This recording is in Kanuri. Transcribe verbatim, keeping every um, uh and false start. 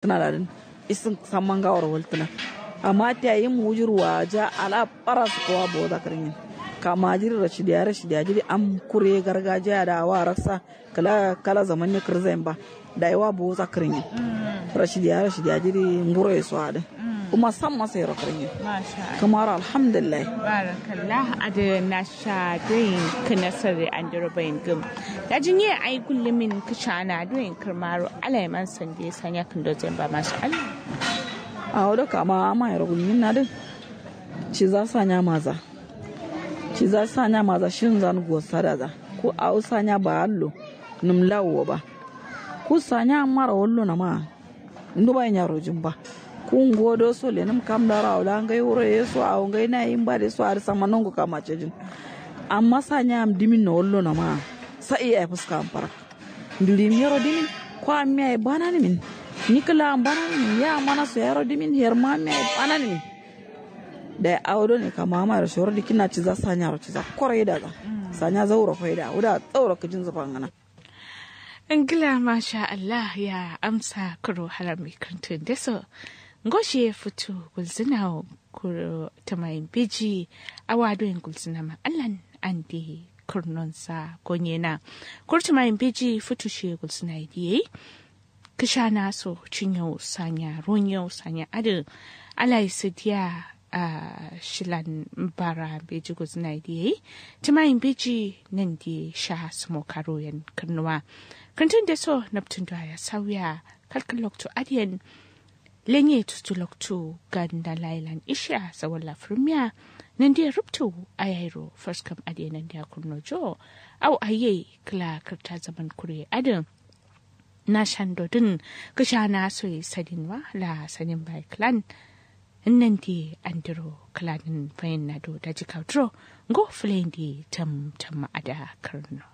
Tǝna ladǝn isǝn samma ngaworo waltǝna. Amma tiya yim wujur waja ala bara sǝkkowa boza kǝrǝnyin. Kama jiri rashidiya rashidiya jiri am kure gargajiya da awa raksa. Kǝla kala zaman ne kǝrzayin ba. Dayi wa boza kǝrǝnyin. Rashidiya rashidiya jiri nguro ye so adǝ. Kuma samma sairo kǝrǝnyin. Kǝmaro alhamdulillahi. Barakallah. Adǝ nasha doyin kǝnasarre andiro bayin gǝm. Daji nye ai gullumin kǝshana doyin kǝrmaro alaiman sande sanya kǝndo zayin ba masha Allah. Awo do kama ama yero gullumin nadǝ. Ciza sanya maza. Ciza sanya maza shinzan gosadaza. Ku awo sanya ba allo. Nǝm lawo ba. Ku sanya ammaro wallo nama. Nduba inya rojin ba. Ku ngo do so lenǝm kam daro awo la ngai wuro ye so awo ngai na yin ba de so adǝ samma nongo kama cejin. Amma sanya am dimin no wallo nama. Sa iya fuska am farak. Nduri miyero dimin. Ko am miya ye bana nimin. Nikǝla am bana nimin ya mana so yaro dimin her ma miya ye bana nimin. Dayi awo done kama ama yero shoro dikinna ciza sanya ro ciza koro yida za. Sanya zauro faida wuda zauro kǝjin zufan gǝna. Ngla masha Allah ya amsa kuro haram mi kǝrǝntǝ ndeso. Ngo shiye futu gulzǝna wo kuro tǝmayin beji. Awa doyin gulzǝna ma allan ande kurnonsa gonyena. Kuro tǝmayin beji futu shiye gulzǝna ye diye. Kǝshana so cinyau sanya ronyau sanya adǝ. Alai sǝdiya. Shilan bara beji gulzǝna ye diye. Tǝmayin beji nande sha sǝmo karo yen kǝrnuwa. Kǝntǝn deso naptǝn do aya sauya. Kalkǝl loktu adǝ yen. Lenye tustu loktu ganda lailan ishiya sawalla fǝrmiya. Nande rubtu ayairo faskam adǝ yen nande akurno jo. Au aye kǝla kǝrta zaman kure adǝ. Na shando dǝn kǝshana soyi sadin wa la sadin bai kǝlan. Nandi andiro kǝlanin fayin nado daji kauduro. Ngo fǝlayin di tam tam ada kǝrno.